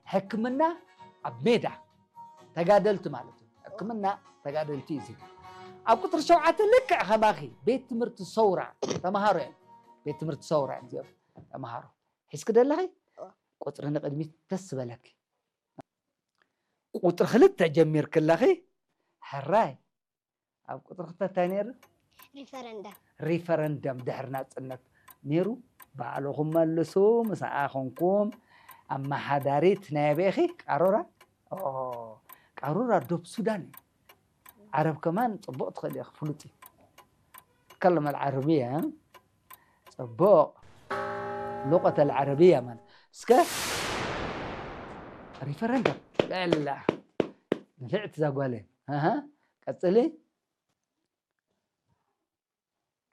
ሕክምና ኣብ ሜዳ ተጋደልቲ ማለት እዩ። ሕክምና ተጋደልቲ እዩ። ኣብ ቁፅሪ ሸውዓተ ልክዕ ከማኺ ቤት ትምህርቲ ሰውራ ተምሃሮ እዮም። ቤት ትምህርቲ ሰውራ እዮም እዚኦም ተምሃሮ። ሒዝኪ ደለኺ? ቁፅሪ ንቕድሚት ደስ ዝበለኪ። ቁፅሪ ክልተ ጀሚርክለኺ ሕራይ። ኣብ ቁፅሪ ክልተ እንታይ ነይሩ? ሪፈረንደም ሪፈረንደም ድሕሪ ናፅነት ነይሩ። ባዕልኹም መልሱ። ምስኣ ኮንኩም ኣመሓዳሪት ናይ ኣበይ ኢኺ? ቃሮራ። ኦ፣ ቃሮራ ዶብ ሱዳን እዩ። ዓረብ ከማን ፅቡቕ ትኽእል ኢኺ፣ ፍሉጥ እዩ። ትከለም ኣልዓረብያ። ፅቡቕ። ሉቀት ኣልዓረብያ ማለት እስከ ሪፈረንደም። ልዕላ ንፍዕቲ ዛጓለ። ኣሃ፣ ቀፅሊ።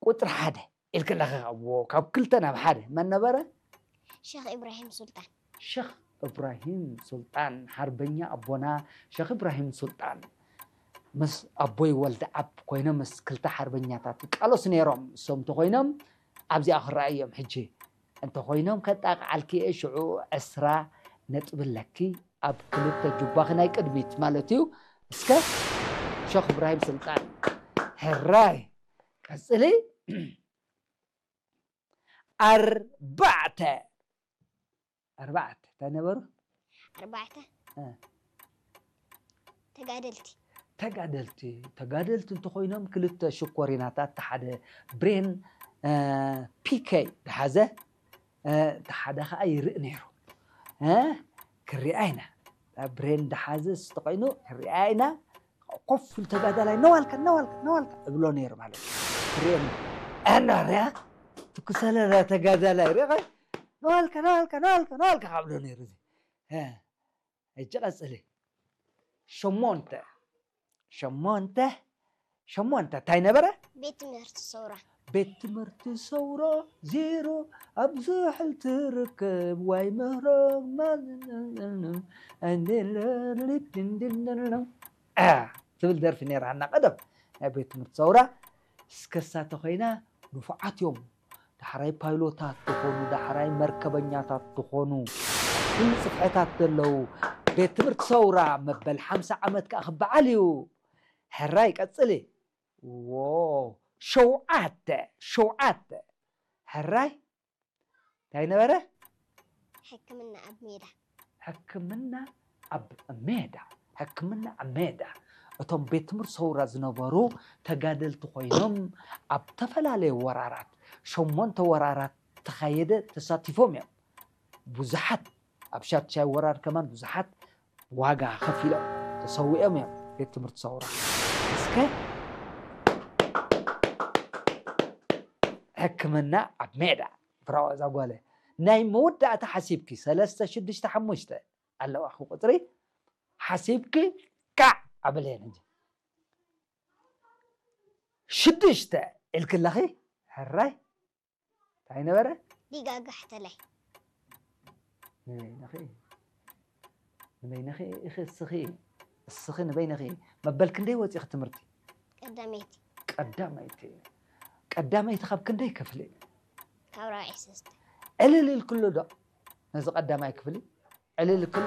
ቁፅሪ ሓደ ኢልክለኺ፣ ካብ ክልተ ናብ ሓደ መን ነበረ? ሸኽ ኢብራሂም ሱልጣን ሸኽ እብራሂም ሱልጣን፣ ሓርበኛ ኣቦና ሸኽ እብራሂም ሱልጣን ምስ ኣቦይ ወልደኣብ ኮይኖም ምስ ክልተ ሓርበኛታት ይቃለሱ ነይሮም። እሶም እንተኾይኖም ኣብዚኣ ክረኣዮም ሕጂ እንተኾይኖም ከጣቕዓልኪ እየ። ሽዑ ዕስራ ነጥቢ ኣለኪ ኣብ ክልተ ጁባኺ ናይ ቅድሚት ማለት እዩ። እስከ ሸኽ እብራሂም ሱልጣን ሕራይ ቀፅሊ። ኣርባዕተ ኣርባዕተ እንታይ ነበሩ? ኣርባዕተ ተጋደልቲ ተጋደልቲ ተጋደልቲ እንተኮይኖም ክልተ ሽኮሪናታት፣ ሓደ ብሬን ፒኬ ዝሓዘ፣ ሓደ ከዓ ይርኢ ነይሩ። ክሪኣ ኢና። ብሬን ዝሓዘ ዝተኮይኑ ክሪኣ ኢና። ኮፍ ኢሉ ተጋዳላይ ነዋልካ ነዋልካ ነዋልካ እብሎ ነይሩ ማለት እዩ። ክሪኤኒ ኣናርያ ትኩሰለላ ተጋዳላይ ሪኸ ነዋልካ ነዋልካ ነዋልካ ነዋልካ ካብሎ ነይሩ። ሕጂ ቀፅሊ። ሸሞንተ ሸሞንተ ሸሞንተ እንታይ ነበረ? ቤት ትምህርቲ ሰውራ ቤት ትምህርቲ ሰውሮ ዜሮ ኣብ ዝሕል ትርከብ ዋይ ምህሮ ትብል ደርፊ ነይራና ቀደም ናይ ቤት ትምህርቲ ሰውራ። እስከሳ ተኮይና ንፉዓት እዮም። ዳሕራይ ፓይሎታት ዝኾኑ፣ ዳሕራይ መርከበኛታት ዝኾኑ፣ ኩሉ ጽፍሕታት ዘለዉ ቤት ትምህርቲ ሰውራ መበል ሓምሳ ዓመት ከኣ ክበዓል እዩ። ሕራይ ቀጽሊ። ዎ ሸውዓተ ሸውዓተ ሕራይ እንታይ ነበረ? ሕክምና ኣብ ሜዳ ሕክምና ኣብ ሜዳ ሕክምና ኣብ ሜዳ እቶም ቤት ትምህርቲ ሰውራ ዝነበሩ ተጋደልቲ ኮይኖም ኣብ ተፈላለየ ወራራት ሸሞንተ ወራራት ተኻየደ ተሳቲፎም እዮም። ብዙሓት ኣብ ሻድሻይ ወራር ከማን ብዙሓት ዋጋ ከፊሎም ተሰዊኦም እዮም። ቤት ትምህርቲ ሰውራ እስከ ሕክምና ኣብ ሜዳ ብራዋ እዛ ጓለ ናይ መወዳእታ ሓሲብኪ ሰለስተ ሽዱሽተ ሓሙሽተ ኣለዋ ቁፅሪ ሓሲብኪ ካዕ ኣበለየን እንጂ ሽዱሽተ ኢልክለኺ ሕራይ እንታይ ነበረ? ዲጋጋሕተላይ ንበይንኺ ንበይንኺ ኢኺ እስኺ እስኺ ንበይንኺ መበል ክንደይ ወፂኺ ትምህርቲ? ቀዳመይቲ ቀዳመይቲ ቀዳመይቲ ካብ ክንደይ ክፍሊ? ካብ ራብዒ ሰስተ ዕልል ኢልክሉ ዶ ነዚ ቀዳማይ ክፍሊ? ዕልል ክሉ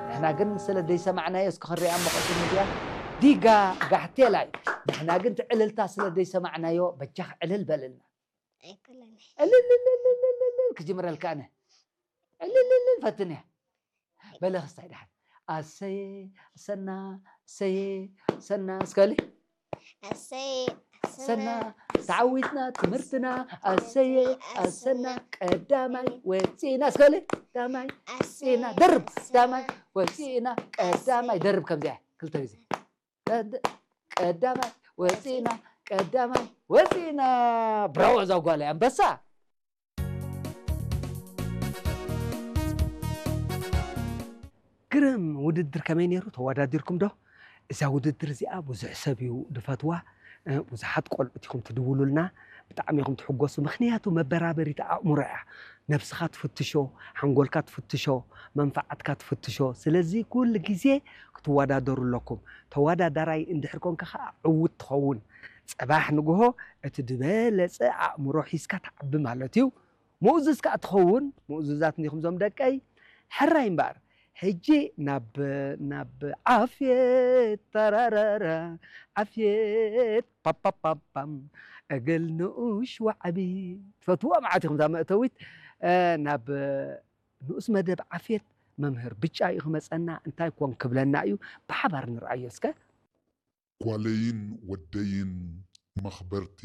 ንሕና ግን ስለ ደይሰማዕናዮ እስኪ ክንሪኣ መቐሱ ሚድያ ዲጋ ጋሕቴላይ ንሕና ግን ትዕልልታ ስለ ደይሰማዕናዮ በጃኽ ዕልል በልልና ኣይኮነን ዕልልልልልልልል ክጅምረልካ ኣነ ዕልልልል ፈትንያ በለ ክስታይ ድሓን ኣሰየ ኣሰና ኣሰየ ኣሰና እስከሊ ኣሰይ ሰና ተዓዊትና ትምህርትና ኣሰየ ኣሰና ቀዳማይ ወፂና እስከሊ ቀዳማይ ወፂና ደርብ ቀዳማይ ወፂና ቀዳማይ ደርብ ከምዚኣ ክልተ ግዜ ቀዳማይ ወፂና ቀዳማይ ወፂና ብራዎ እዛ ጓል ኣንበሳ ግርም ውድድር ከመይ ነይሩ ተወዳዲርኩም ዶ እዛ ውድድር እዚኣ ብዙሕ ሰብ እዩ ድፈትዋ ብዙሓት ቆልዑት ኢኹም ትድውሉልና ብጣዕሚ ኢኹም ትሕጎሱ ምክንያቱ መበራበሪት ኣእምሮ እያ ነብስኻ ትፍትሾ ሓንጎልካ ትፍትሾ መንፋዓትካ ትፍትሾ ስለዚ ኩሉ ግዜ ክትወዳደሩ ኣለኩም ተወዳዳራይ እንድሕር ኮንካ ከዓ ዕውት ትኸውን ፅባሕ ንግሆ እቲ ዝበለፀ ኣእምሮ ሒዝካ ትዓቢ ማለት እዩ ምኡዙዝ ከዓ ትኸውን ምኡዙዛት እንዲኹም ዞም ደቀይ ሕራይ እምበኣር ሕጂ ናብ ናብ ዓፍየት፣ ተራራራ፣ ዓፍየት፣ ፓፓፓፓም፣ እግል ንኡሽ ዋዕቢ። ትፈትውዋ መዓት ኢኹም እዛ መእተዊት። እ፣ ናብ ንኡስ መደብ ዓፍየት መምህር ብጫ እዩ ክመጸና። እንታይ ኮን ክብለና እዩ? ብሓባር ንርኣዮ እስከ። ጓለይን ወደይን መኽበርቲ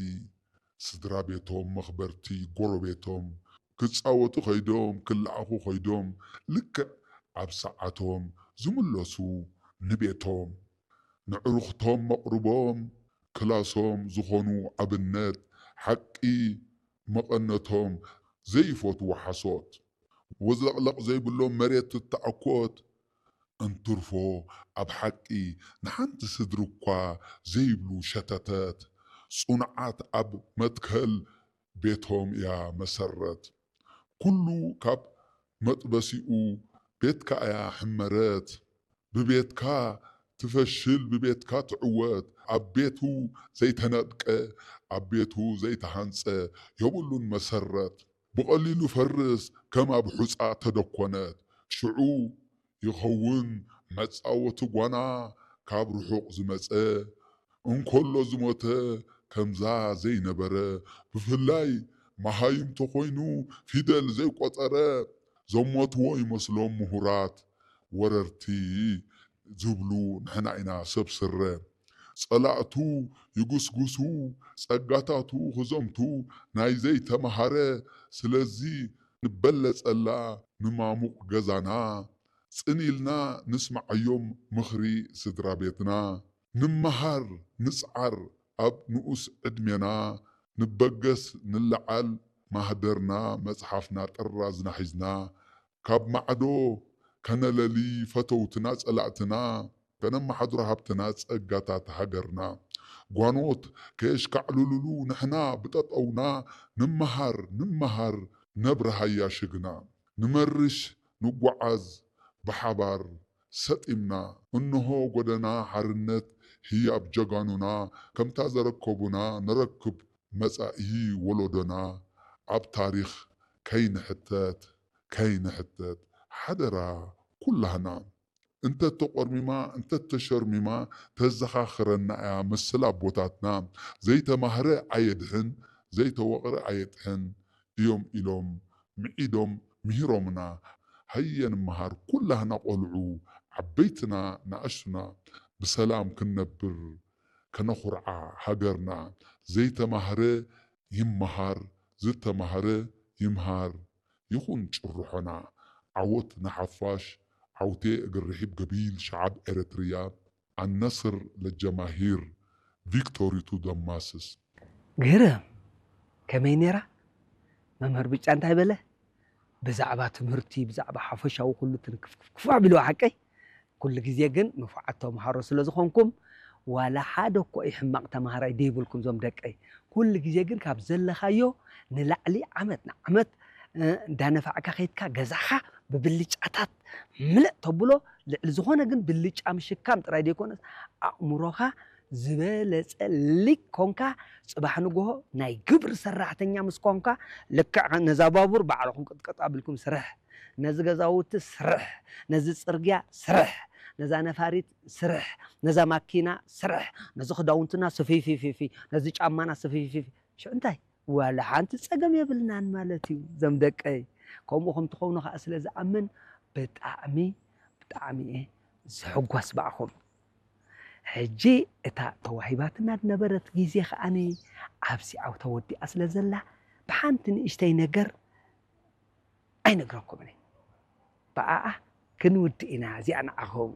ስድራ ቤቶም፣ መኽበርቲ ጎረቤቶም፣ ክጻወቱ ከይዶም፣ ክለኣኹ ከይዶም፣ ልክዕ ኣብ ሰዓቶም ዝምለሱ ንቤቶም። ንዕሩኽቶም መቕርቦም ክላሶም ዝኾኑ ኣብነት፣ ሓቂ መቐነቶም፣ ዘይፈትዉ ሓሶት። ወዝለቕለቕ ዘይብሎም መሬት ትተኣኮት፣ እንትርፎ ኣብ ሓቂ ንሓንቲ ስድሪ እኳ ዘይብሉ ሸተተት። ጽኑዓት ኣብ መትከል ቤቶም እያ መሰረት። ኩሉ ካብ መጥበሲኡ ቤትካ እያ ሕመረት። ብቤትካ ትፈሽል፣ ብቤትካ ትዕወት። ኣብ ቤቱ ዘይተነድቀ፣ ኣብ ቤቱ ዘይተሃንጸ የብሉን መሰረት። ብቐሊሉ ፈርስ ከም ኣብ ሑጻ ተደኮነት። ሽዑ ይኸውን መጻወቲ ጓና ካብ ርሑቕ ዝመጸ። እንከሎ ዝሞተ ከምዛ ዘይነበረ። ብፍላይ መሃይም ተኾይኑ ፊደል ዘይቆጸረ። ዘሞትዎ ይመስሎም ምሁራት ወረርቲ ዝብሉ ንሕና ኢና ሰብ ስረ። ጸላእቱ ይጉስጉሱ ጸጋታቱ ክዘምቱ ናይ ዘይተመሃረ። ስለዚ ንበለጸላ ንማሙቕ ገዛና ጽን ኢልና ንስምዓዮም ምኽሪ ስድራ ቤትና። ንመሃር ንጽዓር ኣብ ንኡስ ዕድሜና። ንበገስ ንለዓል ማህደርና መጽሓፍና ጥራዝና ሒዝና። ካብ ማዕዶ ከነለሊ ፈተውትና ጸላእትና። ከነመሓድሮ ሃብትና ጸጋታት ሃገርና። ጓኖት ከየሽካዕልሉሉ ንሕና ብጠጠውና። ንመሃር ንመሃር ነብርሃያ ሽግና። ንመርሽ ንጓዓዝ ብሓባር ሰጢምና። እንሆ ጎደና ሓርነት ህያብ ጀጋኑና። ከምታ ዘረከቡና ነረክብ መጻኢ ወለዶና። ኣብ ታሪኽ ከይንሕተት ከይንሕተት ሓደራ ኩላህና። እንተተቆርሚማ እንተተሸርሚማ ተዘኻኽረና እያ መሰል ኣቦታትና። ዘይተማህረ ኣየድሕን ዘይተወቕረ ኣየጥሕን እዮም ኢሎም ምዒዶም ምሂሮምና። ሃየ ንመሃር ኩላህና ቆልዑ ዓበይትና ንኣሽቱና ብሰላም ክንነብር ከነኹርዓ ሃገርና። ዘይተማህረ ይመሃር ዝተማህረ ይምሃር ይኹን ጭርሖና። ዓወት ንሓፋሽ። ዓውቴ እግር ርሒብ ገቢል ሸዓብ ኤረትርያ ኣነስር ለጀማሂር ቪክቶሪ ቱ ደማስስ። ግርም ከመይ ነይራ መምህር ብጫ እንታይ በለ? ብዛዕባ ትምህርቲ ብዛዕባ ሓፈሻዊ ኩሉ ትንክፍክፍክፍ ኣቢልዋ ሓቀይ። ኩሉ ግዜ ግን ንፉዓት ተምሃሮ ስለ ዝኾንኩም ዋላ ሓደ እኮ እዩ ሕማቕ ተምሃራይ ደይብልኩም ዞም ደቀይ። ኩሉ ግዜ ግን ካብ ዘለኻዮ ንላዕሊ ዓመት ንዓመት እንዳነፋዕካ ከይድካ ገዛኻ ብብልጫታት ምልእ ተብሎ። ልዕሊ ዝኾነ ግን ብልጫ ምሽካም ጥራይ ዘይኮነስ ኣእምሮኻ ዝበለጸ ሊቅ ኮንካ ጽባሕ ንግሆ ናይ ግብሪ ሰራሕተኛ ምስ ኮንካ ልክዕ ነዛ ባቡር ባዕልኹም ቅጥቀጥ ኣቢልኩም ስርሕ፣ ነዚ ገዛውቲ ስርሕ፣ ነዚ ጽርግያ ስርሕ፣ ነዛ ነፋሪት ስርሕ፣ ነዛ ማኪና ስርሕ፣ ነዚ ክዳውንትና ስፊፊፊፊ፣ ነዚ ጫማና ስፊፊፊ። ሽዑ እንታይ ዋላ ሓንቲ ጸገም የብልናን ማለት እዩ። ዘም ደቀይ ከምኡ ከም ትኾኑ ከዓ ስለ ዝኣምን ብጣዕሚ ብጣዕሚ እየ ዝሕጎስ ብኣኹም። ሕጂ እታ ተዋሂባትና ዝነበረት ግዜ ከዓኒ ኣብዚ ዓው ተወዲኣ ስለ ዘላ ብሓንቲ ንእሽተይ ነገር ኣይነግረኩምን እየ። ብኣኣ ክንውድእ ኢና እዚኣ ንዓኹም።